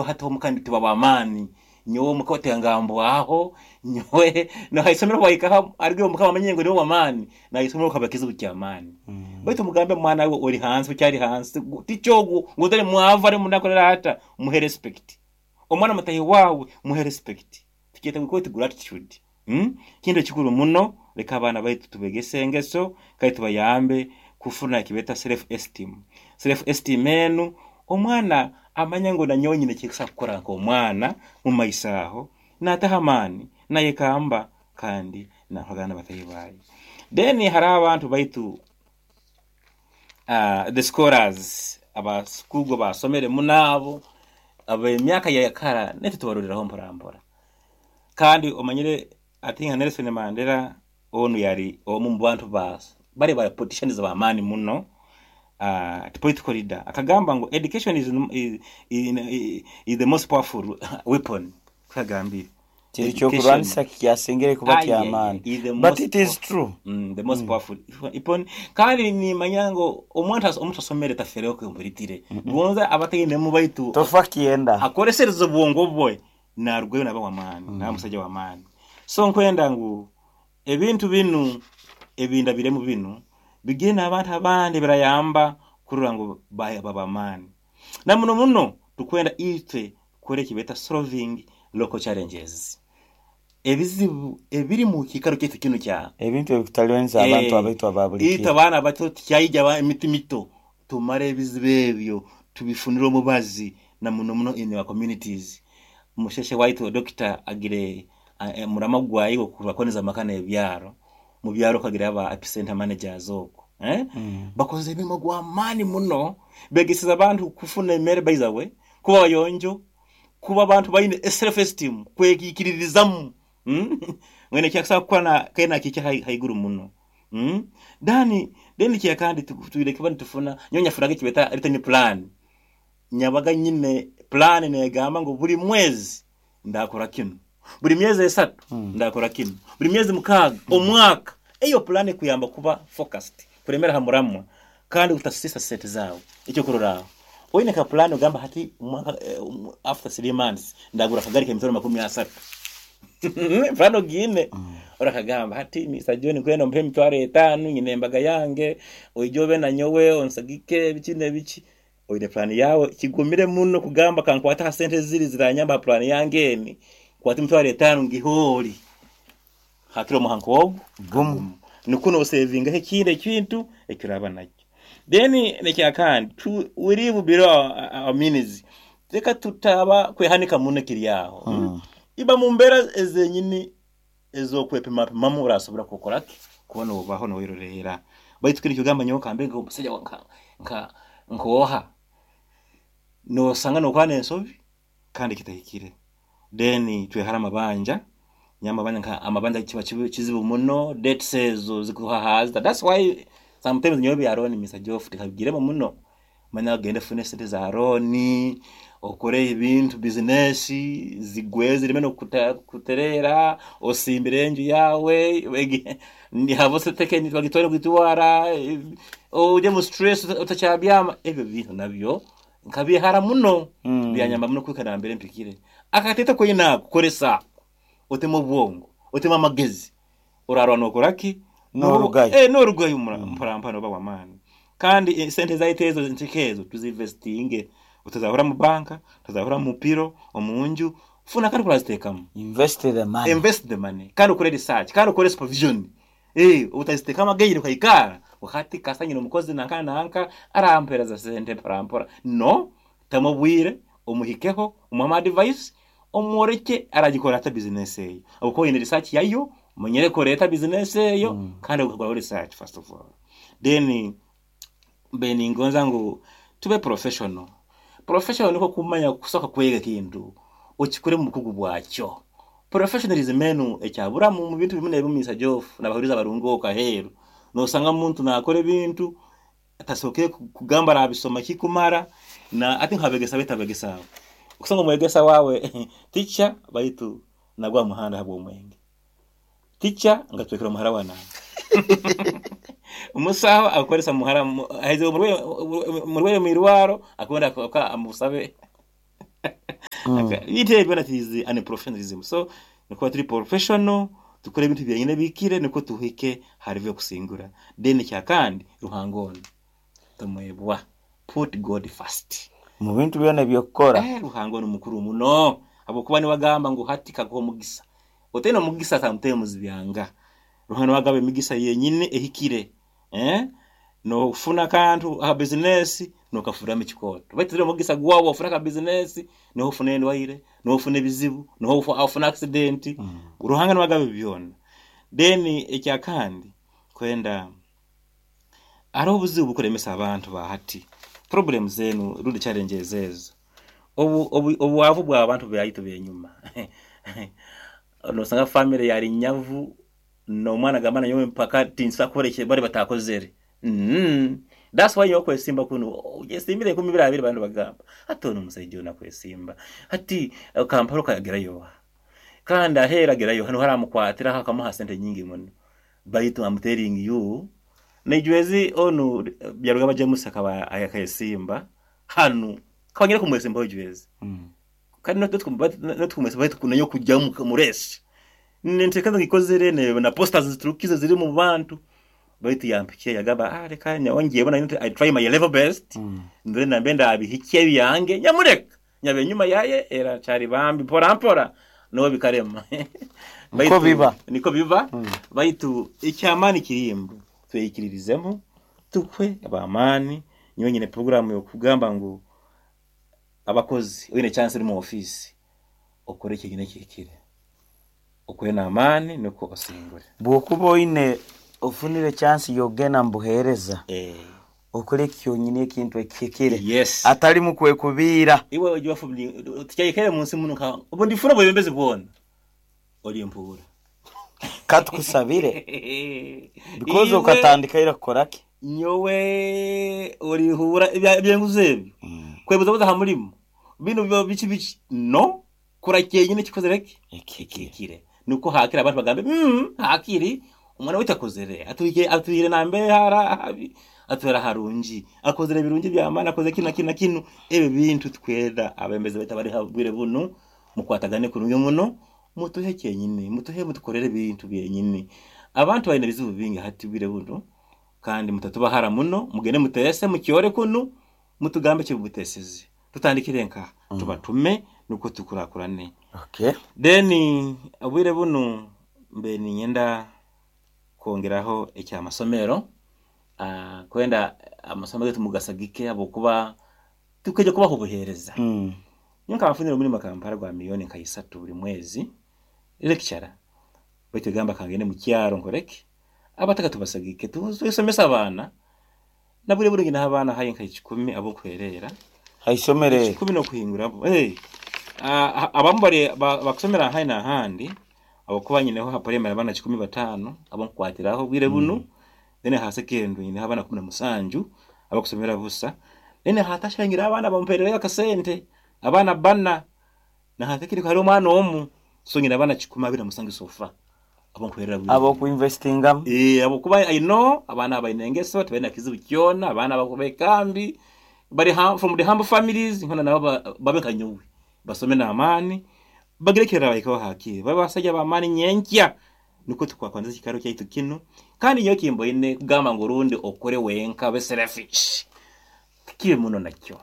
Hati omuka tuba b'amaani, nyowe omuka otengambwaho, nyowe ha isomero obu wahikaho arugire omuka bamanye ngu niwe w'amaani, na ha isomero kaba kizibu ky'amaani. Baitu mugambe mwana we ori hansi, okyali hansi, tica ogu ngu tali mwavu ali munaku ata, muhe respect. Omwana mutahi waawe muhe respect. Tukyeta we call it gratitude. Kintu ekikuru muno, leka abaana baitu tubegese engeso kandi tubayambe kufuna eki beeta self esteem. Self esteem enu, omwana amanye ngu nanyowe nyine eki nkusobora kukora nk'omwana mu maiso aho, naataho amaani, nayekamba kandi nakoragana na bataahi baaye. Then haroho abantu baitu the scholars, abakugu abasomere muno abo, ab'emyaka ya kara naitwe tubaroreraho mpora mpora. Kandi omanyire ati nka Nelson Mandela onu yali omu mu bantu ba bali ba politicians b'amaani muno, political leader, akagamba ngu education is the most powerful weapon, kagambire. Kiri kyokurwanisa kikyasingire kuba ky'amaani. Is the But most it is true. The most powerful weapon. Kandi nimanya ngu omuntu asomere tafereho kumpuritire. Gonza abatainemu baitu Tofa kyenda. Akolesereza obwongo bwe narugayo naba w'amaani, naba musaija w'amaani. So nkwenda ngu ebintu binu ebindabiremu binu bigire n'abantu abandi birayamba kurora ngu baba b'amaani. Na muno muno tukwenda itwe kukora eki beeta solving local challenges. Ebizibu ebiri mu kiikaro kyaitu kinu kya Ebintu ebikutalibaniza abantu abaitu aba buli itwe kiro. Abaana abato tukyaija emiti mito tumare ebizibu ebyo tubifunire omubazi na muno muno in our communities. Musheshe waitu dokita agire murama gwaye gw'okubakoniza amaka n'ebyaro. Mu byaro okagira aba epicenter managers okwo. Bakoze emirimo gw'amaani muno begesize abantu kufuna emere by the way, kuba bayonjo, kuba abantu baine self esteem, kwekikiririzamu. Mwene ekyakusobola kukora na kandi nakihikya haiguru muno. Then ekyakandi twine kuba nitufuna, nyowe nyafunaga ekibeeta written plan. Nyabaga nyine plan negamba ngu buri mwezi ndakora kinu, buri myezi 3 ndakora kinu, buri myezi 6, omwaka. Eyo plan ekuyamba kuba focused, kuremera ha muramwa kandi kutasisa sente zaawe. Ekyokurorraho, oine ka plan ogamba hati omwaka after 3 months ndagura akagari k'emitwaro 30. Plan ogiine orakagamba hati Mr John nkwenda ompe emitwaro 5 nyine embaga yange oije obe nanyowe onsagike biki n'ebiki. Oine plan yawe kigumire muno kugamba kankwate ha sente ziri ziranyamba ha plan yange eni nkwate emitwaro 5 ngihe ori hakiri omuha nk'ogu Gumu. Nikwo nosevingaho ekindi ekintu ekiraba nakyo. Then nekyakandi we live below our means, leka tutaba kwehanika muno ekiri aho. Iba mu mbeera ezenyini ez'okwepimapimamu orasobora kukora ki kuba nobaho noyerolerra. Baitu kinu ekigamba nyowe kambe nk'omusaija nka nk'oha nosanga nokora n'ensobi kandi kitahikire. Then twehara amabanja, nyowe amabanja nka amabanja kiba kizibu muno, debts ezo zikuhahaza. That's why sometimes nyowe ebya loan Mr Geoff tikabigiremu muno. Manya ogende ofune sente za loan, okore ebintu business zigwe zireme n'okutereera, osimbire enju yaawe, bagitware kugitwara, ori omu stress otakyabyama, ebyo bintu nabyo nkabyehara muno, byanyamba muno kuhika nambere mpikire. Akatete koine ako koresa, otemu obwongo, otemu amagezi, orarora nokora ki? Norugayo. Norugayo mpora mpora noba w'amaani. Kandi sente zaitu ezo nkike ezo tuzinvestinge, otazahura mu banka, otazahura mu piro, omu nju, funa kandi kuraziteekamu. Invest the money. Invest the money. Kandi okore research, kandi okore supervision. Otaziteekamu agaire okaikara, hati kasita nyine omukozi nanka nanka arampereza sente mpora mpora. No, tamu obwire, omuhikeho, omuhe ama advice, omworeke aragikora ata business eyo. Habwokuba oine research yayo, omanyire koreta business eyo, kandi okakoraho research first of all. Then mbe ningonza ngu tube professional. Professional nikwo kumanya kusoka kwega ekintu okikore mu bukugu bwakyo. Professionalism enu ekyaburamu mu bintu bimu n'ebimu Mr Geoff n'abahuriza abarungi okwo aheeru. Nosanga omuntu nakora ebintu atasookere kugamba arabisoma kikumara na ati nk'abegesa baitu abegesa abo. Okusanga omwegesa waawe teacher baitu nagwa aha muhanda habw'omwenge. Teacher ngatwekera omuhara wa nanka. Omusaho akoresa muhara ahaize omurwaire mwirwaro akwenda amusabe. Bintu ebyo byona is unprofessionalism. So nikuba turi professional, tukore ebintu byenyine ebihikire nukwo tuhike ha level y'okusingura. Then ekyakandi, Ruhanga onu tomwebwa. Put God first. Mu bintu byona eby'okukora. Ruhanga onu mukuru muno habwokuba niwe agamba ngu hati kakuha omugisa. Otaine omugisa sometimes byanga. Ruhanga niwe agaba emigisa yenyini ehikire. Nofuna akantu aha bizinesi nokafuramu ekikooto. Baitu tiri omugisa gwawe ofuna aka bizinesi niho ofuna endwaire, niho ofuna ebizibu, niho ofuna accident. Ruhanga niwe agaba ebi byona. Then ekyakandi kwenda hariho obuzibu obukuremesa abantu ba hati. Problems enu rundi challenges ezo. Obwavu bw'abantu baitu b'enyuma. Nosanga family yali nyavu n'omwana agamba nanyowe mpaka tinsobola kukora eki bali batakozere. That's why nyowe kwesimba kunu oyesimbire enkumi ibiri abiri abandi bagamba hati onu omusaija onu akwesimba hati Kampala okagerayo oha? Kandi aheeru agerayo oha? Nuho aramukwatiraho akamuha sente nyingi muno. Baitu I'm telling you naijwezi onu Byarugaba James akaba akesimba hanu akaba anyine kumwesimbaho ijwezi. Kandi notukumwesimbaho baitu nanyowe kujya omu race nintekereza ngikozere na posters ziturukize ziri omu bantu baitu yampikire yagamba leka nyowe ngyebona I try my level best ndore nambe ndabihikya ebyange nyamureka nyaba enyuma yaye era akyari bambi mpora mpora nuwe bikarema. Niko biba. Niko biba. Baitu ekyamaani kiri ngu tweyikiririzemu tukwe ab'amaani. Nyowe nyine puroguraamu y'okugamba ngu abakozi oine chance ori mu ofiisi okore ekyonyini ekihikire. Okore n'amaani nukwo osingure. Bw'okuba oine ofunire chance y'okugenda mu buheereza, okole kyonyini ekintu ekihikire. Yes. Atalimu kwekubiira. Iwe oija tikyayikaire munsi munu nka obu ndifuna obwebembezi bwona olimpuura. Katukusabire because okatandika ira kukora ki? Nyowe olinhuura eby'enguzi ebyo, kwebuzabuza ha mulimo, binu biki biki, no. Kora kyenyini ekikozere ki? Ekihikire. Nukwo hakiri abantu bagambe, hakiri omwana waitu akozere, atwihire nambere habi, atwara harungi, akozere ebirungi by'amaani, akozere kinu na kinu na kinu. Ebyo bintu tukwenda abebembezi baitu abari ha bwire bunu mukwatagane kurungi muno, mutuhe kyenyini, mutuhe mutukorere ebintu byenyini. Abantu baine ebizibu bingi hati bwire bunu, kandi mutatuba hara muno, mugende muteese mukyore kunu, Mutugambe eki mutesize. Tutandikire nkaha? Tubatume nukwo tukurakurane. Okay. Then obwire bunu mbe niinyenda kwongeraho eky'amasomero, kwenda amasomero gaitu mugasagike habwokuba tukaija kubaha obuheereza. Nyowe nkaba nfunire omurimo Kampala gwa milioni nka isatu buri mwezi, lecturer, baitu egamba kangende mu kyaro nkore ki? Abataka tubasagike twesomese abaana. Na buri buri nyinaho abaana haihi nka ikikumi ab'okuhereera. Ha isomero eri. Ikikumi n'okuhinguraho. Abamu bari bakusomera haihi n'ahandi habwokuba nyineho ha primary abaana 15 abunkukwatiraho obwire bunu, then aha secondary nyineho abaana 17 abakusomera busa, then aha tertiary nyineho abaana bampererayo akasente, abaana bbana. Na ha secondary hariho omwana omu, so nyine abaana 127 so far. Ab'okuinvestingamu. Habwokuba I know abaana aba baine engeso tibaine kizibu kyona, abaana bekambi, bari from the humble families, hoona nabo babe nka nyowe, basome n'amaani, bagire ekirabahikaho hakiri, babe basaija b'amaani nyenkya, nukwo tukwakwaniza ekiikaro kyaitu kinu. Kandi nyowe ekimboine kugamba ngu rundi okore wenka obe selfish, tikiri muno nakyo.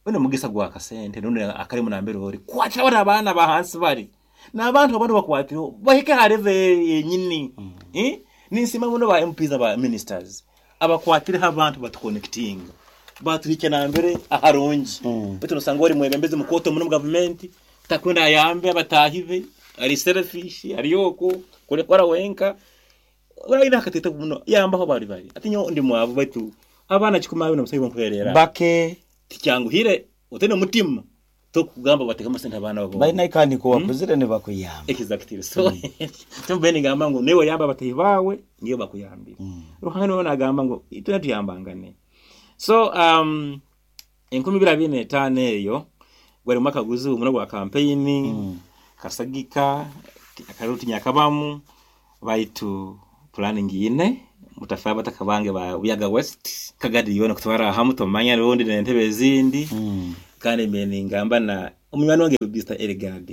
Oine omugisa gw'akasente rundi akalimu nambere ori, kwatira banu abaana aba hansi bari. N'abantu abandi obakwatireho bahike ha level yenyini. Ninsiima muno ba MPs na ba ministers abakwatireho abantu batuconnectinga batuhikya nambere aharungi. Baitu nosanga ori mwebembezi mukooto muno omu gavumenti takwenda ayambe abataahi be, ari selfish, ari okwo, kora wenka. Aine akatete muno yambaho bari bari. Ati nyowe ndi mwavu baitu abaana 27 nkuherera. Bake. Tikyanguhire otaine omutima. Tokugamba batekemu sente abaana babo. Baine kandi nko wakuzire nibakuyamba. Exactly. So kyonka nigamba ngu naiwe oyambe abatahi bawe niyo bakuyambire. Ruhanga niwe nagamba ngu itwena tuyambangane. So 2025 eyo gwari mwaka guzibu muno gwa kampeyini, kasagika, akaruru tinyakabamu baitu pulani ngiine mutafa abataka bange ba Buyaga West kagadi yoona kutwara hamu tomanya rundi n'entebe ezindi kandi mbe ningamba na. Omunywani wange Mr. Eligard,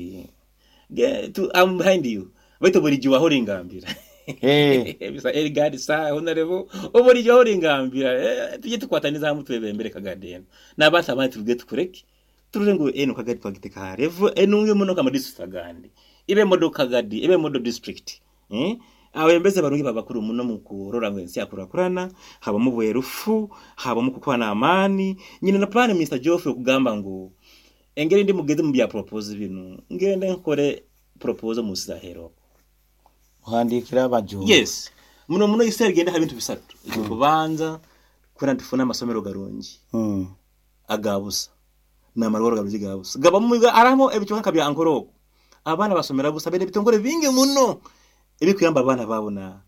I'm behind you. Baitu bulijjo aho oringambira. Mr. Eligard sir, honorable, obulijjo aho oringambira. Tujye tukwataniza hamu twebembere Kagadi enu. N'abantu abandi turuge tukureke. Turore ngu enu Kagadi twagiteka ha level enungi muno nka district agandi. Ibe model Kagadi, ibe model district. Abembezi barungi babakuru muno mu kurora ngu ensi yakurakurana, habamu bwerufu, habamu kukwana amaani. Nyine na plan Mr. Geoffrey okugamba ngu engeri ndi mugezi mu bya propose binu, ngende nkore propose mu Sahero. Uhandikira abajumba. Yes. Muno muno Israel genda ha bintu bisatu. Kubanza kuna tufuna amasomero garungi. Agabusa. Na marwaro garungi gabusa. Gabamu aramo ebichonka bya ankoroko. Abana basomera busa bene bitongore bingi muno. Ebikuyamba abana babo na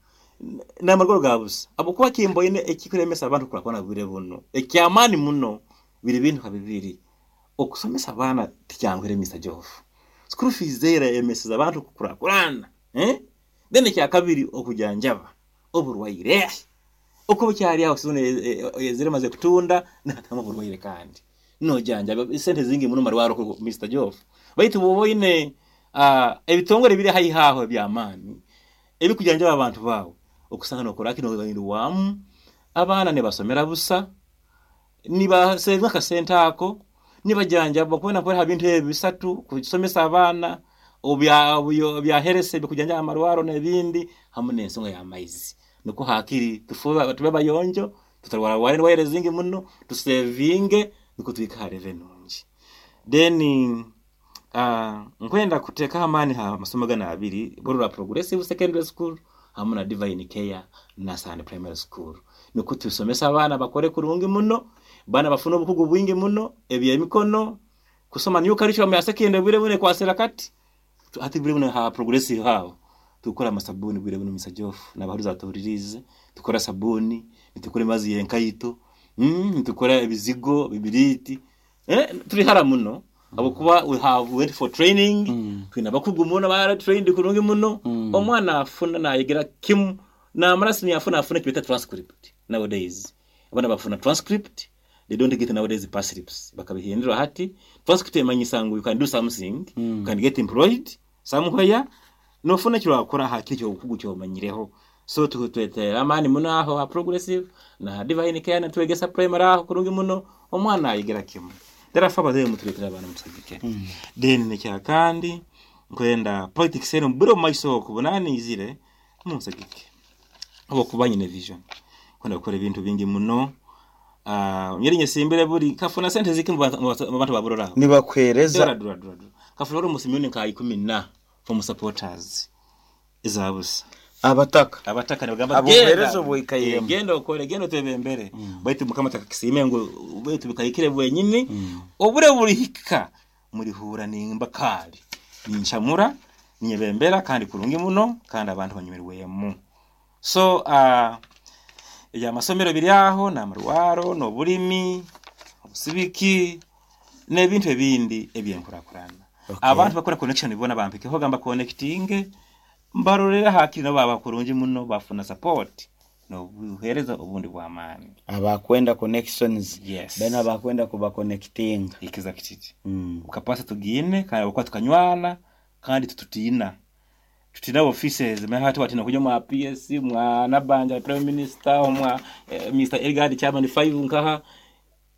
amarwaro gabusa. Abo kuba kimboine ekikuremesa abantu kurakwana bwire buno. Ekyamani muno biri bintu kabibiri. Okusomesa abana tikyangwere Mr. Joff. School fees zera emeseza abantu kukurakurana. Then ekya kabiri okujanjaba oburwaire. Uko cyari aho sone zire maze kutunda natama oburwaire kandi. No janjaba sente zingi muno marwaro ko Mr. Joff. Baitu boboine ebitongore biri hayi haho byamani. Ebikujanjaba abantu bawo okusanga nokora kino wamu abana ne basomera busa niba seva kasenta ako nibajanjaba kubona ko habintu ebisatu kusomesa abana obya herese bikujanja amarwaro n'ebindi hamwe n'ensonga ya maizi nuko hakiri tufuba tube bayonjo tutarwara wale wale zingi muno tusevinge nuko twikare renungi. Then nkwenda kuteka amani ha masomo gana abiri Borora Progressive Secondary School hamwe na Divine Care na Sand Primary School nuko tusomesa abana bakore kurungi muno bana bafuna obukugu bwingi muno ebyemikono kusoma new curriculum ya secondary bwire bune kwa serakati ati bwire bune ha progressive hao tukora amasabuni bwire bune Mr. Joff n'abahuruza batuhuririze tukora sabuni nitukora mazi yenkayito nitukora ebizigo bibiriti turi hara muno abo kuba we have went for training twina bakugu muno bara trained kurungi muno omwana afuna nayigira kimu na marasi afuna kibeta transcript nowadays abana bafuna transcript. They don't get nowadays pass slips. Bakabihindura hati transcript emanyisa ngu you can do something, you can get employed somewhere. No funa kiro akora hakiri cyo bukugu cyo manyireho. So tutwetera amani muno aho ha progressive na Divine Care na twegesa primary aho kurungi muno omwana ayigira kimu. Therefore baze mutwetera abana musagike. Then nekya kandi nkwenda politics eno bro maiso kubonani izire musagike. Abo kubanye vision. Kwenda gukora ibintu bingi muno. Nyeri simbere buri kafuna sente ziki mu bantu baburora nibakwereza dura kafuna ro musimyoni ka 10 na from supporters izabusa abataka nibagamba abohereza obwikayiremo genda okore genda twebembere baitu mukama takakisime ngo baitu bikayikire bwenyini obure burihika muri hura nimba kali ninchamura ninyebembera kandi kurungi muno kandi abantu banyumirwemo. So ya masomero biri aho na marwaro no bulimi obusibiki n'ebintu ebindi ebyenkurakurana. Abantu bakora connection ibona bampike ho gamba connecting mbarorera hakiri nabo abakurungi muno bafuna support no buhereza obundi bw'amaani abakwenda connections. Yes. Bena abakwenda kuba connecting exactly. Ukapasa tugine kandi ukwa tukanywana kandi tututina tutina offices mehati watina kuja mwa PS mwa Nabanja Prime Minister mwa Mr. Elgard Chairman 5 nkaha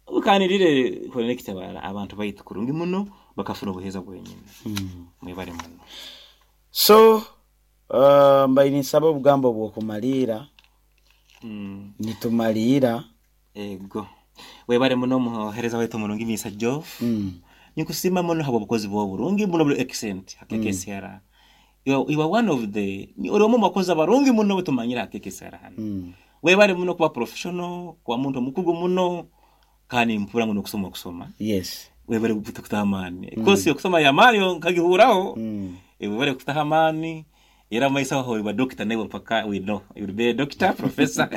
ukanirire connect abantu baitu kurungi muno bakafuna obuheza bwenyine. Mwebare muno. So mbaini saba obugambo bwokumalira. Nitumalira ego webare muno muhereza wetu mulungi Mr. Joff. Nikusima muno habo bukozi bwo burungi muno buli excellent hakekesera. You are one of the uri mu makozi abarungi muno butumanyira hakekesera hano. Webare muno kuba professional kwa muntu mukugu muno kandi mpura ngo kusoma kusoma. Yes. Webare kutamani. Kosi kusoma ya Mario nkagihuraho. Webare kutahamani. Era maisa ho iba doctor nawe mpaka we know you will be a doctor professor.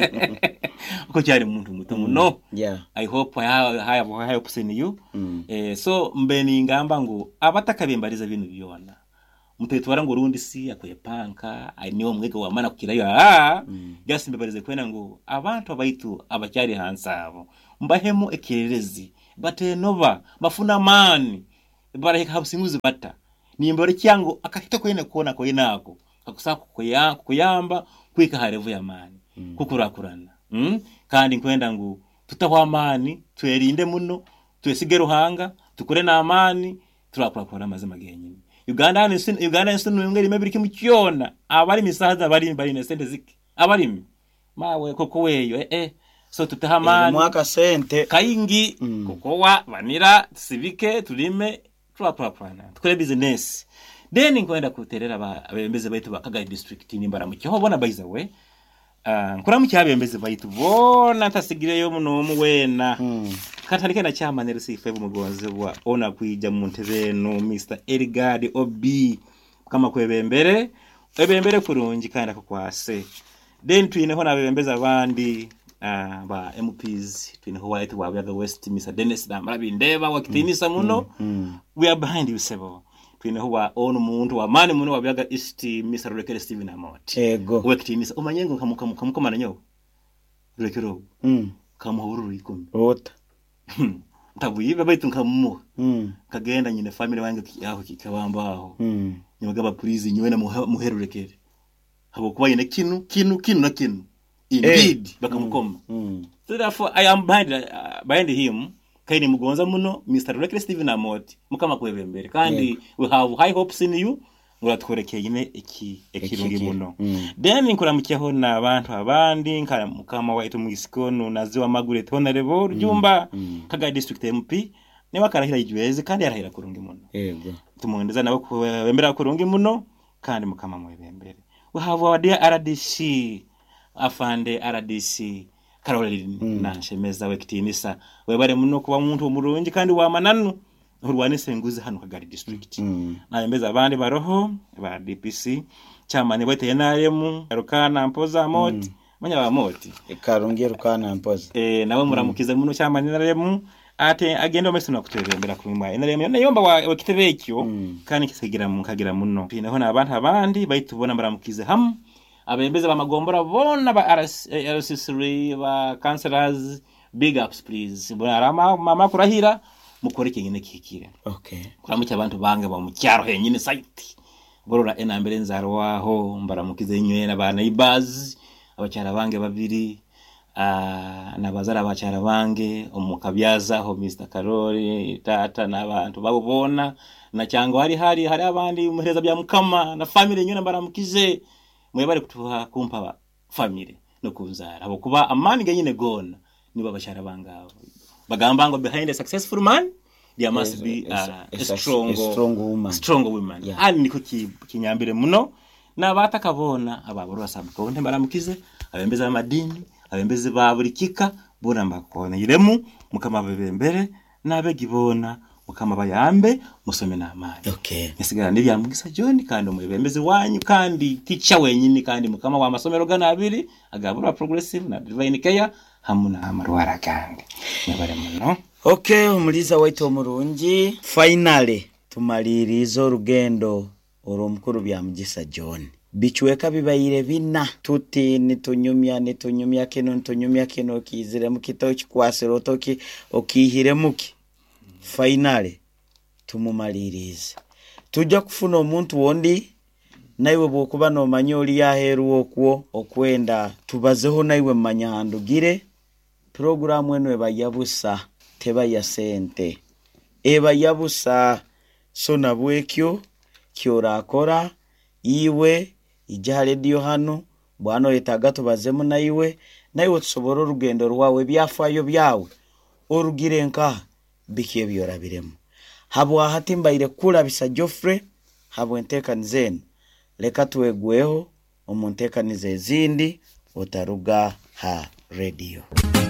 Uko cyari muntu muto muno. Yeah. I hope I have hopes in you. So mbeni ngamba ngo abatakabimbariza bintu byona. Mutetwara ngo rundi si akwepanka ai niwo mwege wa mana kukirayo gasi mbebarize kwena ngo abantu abaitu abacyari hansi abo mbahemo ekirerezi batenoba bafuna mani Barahika ha businguzi bata? Nimbolekya ngu akahito koine koona koine ako kakusobora kukuyamba kuhika ha level y'amaani kukurakurana. Kandi nkwenda ngu tutahwa amaani, twerinde muno, twesige Ruhanga, tukore n'amaani, turakurakurana amazima genyini. Uganda Uganda ensi nungi erimu ebiri kimu kyona. Abalimi saaha zinu abalimi baine sente zike. Abalimi mawe koko eyo eh eh so tuteho amaani. Erimu akasente. Kaingi kokowa, vanira, tusibike, tulime, turakurakurana, tukore bizinesi. Then nkwenda kuterera abebembezi baitu ba Kagadi district nimbaramukyaho bona by the way. Nkuramukya abebembezi baitu boona ntasigireyo n'omu weena. Katandike na chairman LC5 mugonzebwa ona kwija mu ntebe eno Mr. Elgard OB Mukama kwebembere ebembere kurungi kandi akukwase. Then twineho n'abebembezi abandi ba MPs twineho waitu wa Buyaga West Mr. Dennis Namara Bindeba wakitinisa muno. We are behind you sebo. Twineho wa onu muntu wa maani muno wa Buyaga East Mr. Rurekere Stephen Amoti. Ego. Wekitinisa omanye ngu nkamukomana nyowe. Rurekere ogu. Nkamuha obururu 10. Ota. Ntabwibe baitu nkamumuha. Nkagenda nyine family wange aho kikabamba aho. Nibagamba please nyowe na muhe Rurekere. Habwokuba yine kinu kinu kinu na kinu. Indeed bakamukoma. So therefore I am behind him. Kaini mugonza muno Mr. Rurekere Stephen Amoti. Mukama kwebembere. Kandi we have high hopes in you. Nguratukorekeye nyine iki ekirungi muno. Then nkuramukyeho n'abantu abandi nka mukama waitu mwisikonu naziwa Margaret Honorable Rujumba Kagadi district MP niwe akarahira ijwezi kandi yarahira kurungi muno. Yego. Tumwendeza nabo kwebembera kurungi muno kandi mukama mwebembere. We have our dear RDC afande RDC Caroline Nanshemeza wekitinisa webare muno kuba muntu omurungi kandi wa mananu urwanise enguzi hano Kagadi district. Nayembeza abandi baroho ba DPC chairman bwete NRM Rukana Mpoza Moti manya ba Moti Karungi Rukana Mpoza nawe muramukize muno chairman NRM ate agenda omeso nakutebembera kumwa NRM yona yomba wa kitebe ekyo kandi kisigira mukagira muno naho n'abantu abandi baitubona muramukize hamu abembeza bamagombora bona ba RC3 ba councillors big ups please bona mama kurahira mukore kinyine kikire. Okay. Kuramukya abantu bange ba mukyaro henyine site borora enambere nzarwaho mbaramukize inywe na ba neighbors abakyara bange babiri nabazara abakyara bange omukabyaza ho Mr. Karori tata n'abantu babo bona na cyango hari hari hari abandi muhereza bya mukama na family nywe mbaramukize mwebare kutuha kumpa family no kunzara abo kuba amani genyine gona nibo abakyara bangabo bagamba ngo behind a successful man there must be a strong woman. Strong woman. Yeah. Ali niko kinyambire muno n'abatakabona ababorwa sabkonde mbaramukize abembeza amadini abembeze ba buri kika bona mbakona iremu mukama bebembere nabegibona mukama bayambe musome n'amani. Okay. Nsigara ndi byamugisa John kandi umwebembezi wanyu kandi teacher wenyini kandi mukama wa masomero gana abiri agabura progressive na divine care hamwe na amarwara kandi nabare muno. Okay, omuliza waitu omurungi finally tumaliriza orugendo orw'omukuru Byamugisa John. Bichweka bibaire bina tuti nitunyumya kino nitunyumya kino kiziremu kito kikwasire otoki okihiremuki. Finally tumumalirize. Tujja kufuna omuntu wondi naiwe bwokuba nomanya oli yaheru okwo okwenda tubazeho naiwe mmanya handugire. Programu eno eba yabusa teba ya sente eba yabusa so nabwekyo kyorakora iwe ija radio hano bwana oyetaga tubazemu naiwe tusobora orugendo rwawe ebyafayo byawe orugire nka biki ebyorabiremu habwa hati mbaire kulabisa Geoffrey habwe enteekaniza eno leka twegweho omu nteekaniza ezindi otaruga ha radio.